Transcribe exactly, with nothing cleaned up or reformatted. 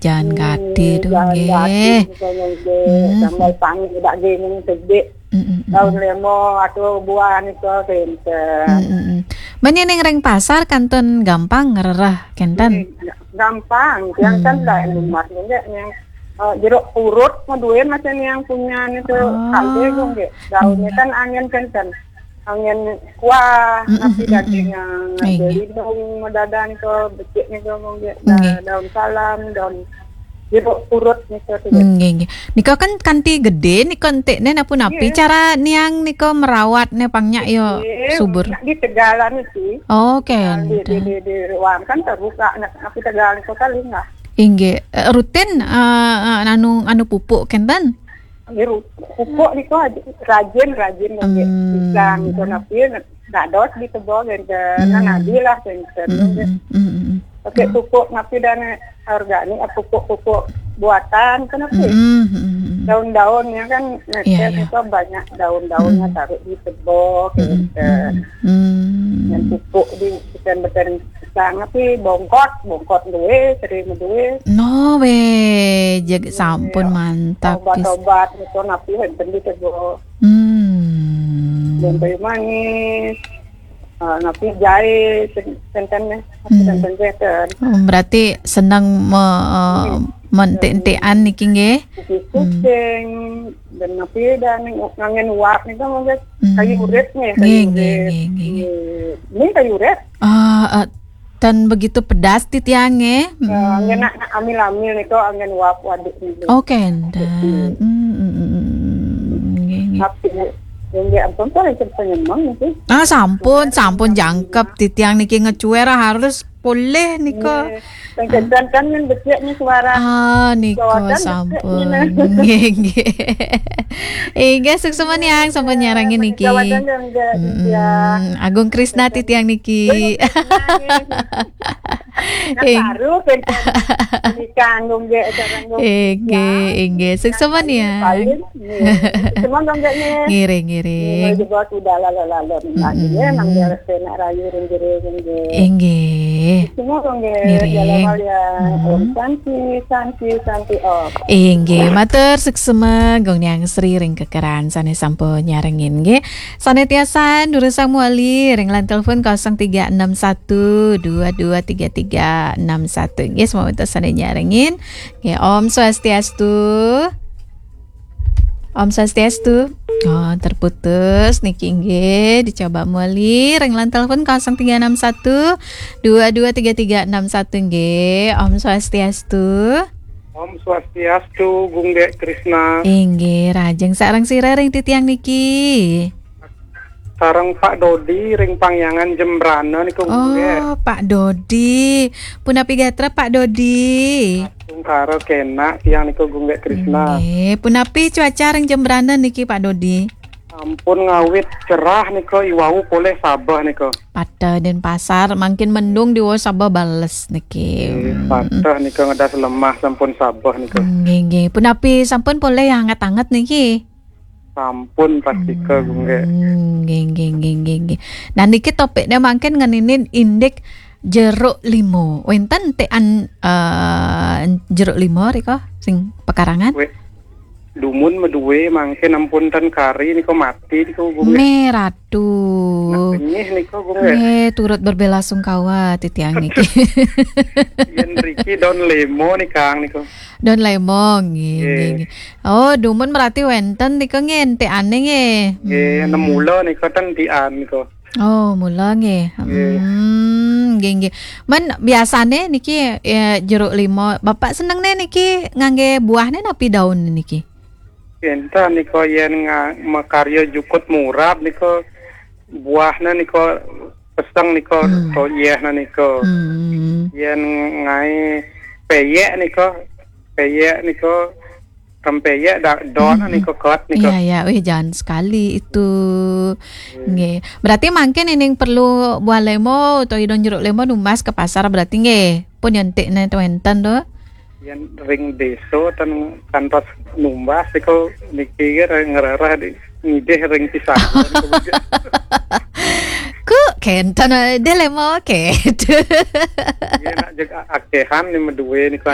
Jalan gati tu, jalan gati nggih. Misalnya nggih, hmm, sambal panggang daging sedikit. Hmm, hmm, hmm. Daun lemo atau buah nika kenten. Hmm, hmm, hmm. Men yen ring pasar kantun gampang ngrereh kenten. Hmm, gampang, yang kan, hmm, dah emas nggih yang, eh, jeruk purut, mau duwe macam yang punya nika, oh, kalbe nggih. Daunnya, hmm, kan angin kenten. Angin kuah, mm, mm, tapi, mm, daging, mm, yang, nggih, nggih, lindung, medadan ke, becik ni ke, nggih, nggih, da-, daun salam, daun jeruk purut ni ke, tu. Nggih, nggih. Nika kan kanti gede, nika entik ni napu-napi. Nggih. Cara niang nika merawat ni pang nyak yo, nggih, subur. Nak ditegalan isi. Oh, kan. Di, di, di, di ruang kan terbuka, nak, nak tegalan kota lingah. Inggih. Eh, rutin, eh, eh, anu, anu pupuk kenten? Nggih, ru-, pupuk nika rajin, rajin nggih. Hmm. Pisang nika napi dados di kebon kenten. Hmm. Nah, nadi lah kenten. Hmm, nggih. Hmm, hmm, hmm. Pakai, hmm, pupuk napi dan organik, eh, pupuk-pupuk buatan kan napi. Hmm, hmm, hmm, hmm. Daun-daunnya kan, iya, iya, nika banyak daun-daunnya, hmm, taruh di kebon, hmm, kenten. Hmm, hmm. Yang pupuk di beten-beten pisang napi bongkot, bongkot duwe, sering duwe. No, weh, jeg-, iya, sampun mantap, pis-, obat-obat nika napi wonten di kebon. Hmm. Jahe manis, eh, napi jahe, sen-, senten ni, hmm, senten, senten. Oh, berarti senang me-, eh, hmm, mentik-entikan niki nggih. Kucing, hmm, dan napi dan nganggen uap nika mangke, hmm, kayu urip ni, kayu, nggih, nggih, urip. Nggih, nggih. Nggih. Ni kayu urip. Ah, eh, tan begitu pedas titiang nggih. Eh, hmm, anggen nak, nak amil-amil nika anggen uap waduk niki. Oh, kenten. Hmm, hmm, hmm, hmm, hmm. Nggih, nggih. Tapi, nggih, ampun, kok yang cerita nyemang niki. Ah, sampun, sampun jangkep titiang niki ngecuer harus polih nika. Nggih. Sing kencang kan men becik ni suara. Ah, nika sampun. Jawaban becik ni, nah. Nggih, nggih. Inggih, suksma niang sampun nyarengin niki. Jawaban yang enggak, mm-mm, ya. Agung Krisna titiang niki. Agung Krisna, nggih. Nah, ing-, baru kenten nikah nggih, sareng nggih. Inggih, ya. Inggih. Suksma niang. Paling, nggih. Suksma nggih, nggih. Ngiring, ngiring. Nggih, juga sudah lalu-lalu. Mm-mm. Nggih, nang dia Senak rayu ring jero nggih. Inggih. Semua nggih. Ngiring. Jalan raya. Hmm. Om Santi, Santi, Santi Om. Inggih, matur suksma Gung Niang Sri ring kekeran sane sampun nyarengin nggih. Sane tiasan durusang mewali ring line telepon kosong tiga enam satu dua dua tiga tiga enam satu. Nggih, semua sane nyarengin. Nggih, Om Swastiastu. Om Swastiastu. Oh, terputus niki nggih, dicoba muli ring line telepon kosong tiga enam satu dua dua tiga tiga enam satu nggih. Om Swastiastu. Om Swastiastu, Gung Dek Krisna. Inggih, rajeng sareng sira ring titiang niki. Sareng Pak Dodi ring Pangyangan Jembrana niku, Gung Dek. Oh, Pak Dodi. Punapi gatra, Pak Dodi? Tungkara kenak tiang niku, Gung Dek Krisna. Nggih, punapi cuaca ring Jembrana niki, Pak Dodi? Ampun ngawit cerah niku, iwau polih sabeh niku. Pada Denpasar, mangkin mendung diwau sabeh bales niki. Nggih, hmm, pada niku ngedas lemah sampun sabeh niku. Nggih, nggih. Punapi sampun polih yang anget-anget niki? Sampun pastika, hmm, Gung Dek. Nggih, nggih, nggih, nggih, nggih. Nah, niki topiknya mangkin ngeninin indik jeruk limo. Wenten tekan, eh, jeruk limo rika sing pekarangan? Weh, dumun meduwe mangkin ampun ten kari niku mati niku, Gung Dek. Me ratu. Nah, benyih niku, Gung Dek. Nggih, turut berbelasungkawa titiang niki. Yen riki daun lemo nih, Kang, niku. Daun lemo, nggih, nggih, nggih, nggih. Oh, dumun berarti wenten nika nggih, entekane nggih. Nggih, hmm, nem mula nika ten tian nika. Oh, mula nggih. Nggih. Hmm, nggih, nggih. Men biasane niki, eh, jeruk limo, Bapak senengne niki ngangge buahne napi daun niki? Enten nika yen nga-, makarya jukut murab nika buahne nika peseng nika, hmm, toyehne nika. Hmm. Yen ngae peyek nika, peyek nika Rempeyek dak don, mhm, nika kot nika. Iya, iya. Wih, jangan sekali itu. Hmm. Nggih. Berarti mangkin ining perlu buah lemo utawi daun jeruk lemo numbas ke pasar berarti nggih. Pun nyentik ne wenten to. Yen ring desa ten kantos numbas iku niki ngerereh di, ngidih ring pisang. Ku kenten, eh, de lemo ke. Iya, nak jeg akehan ni meduwe niku.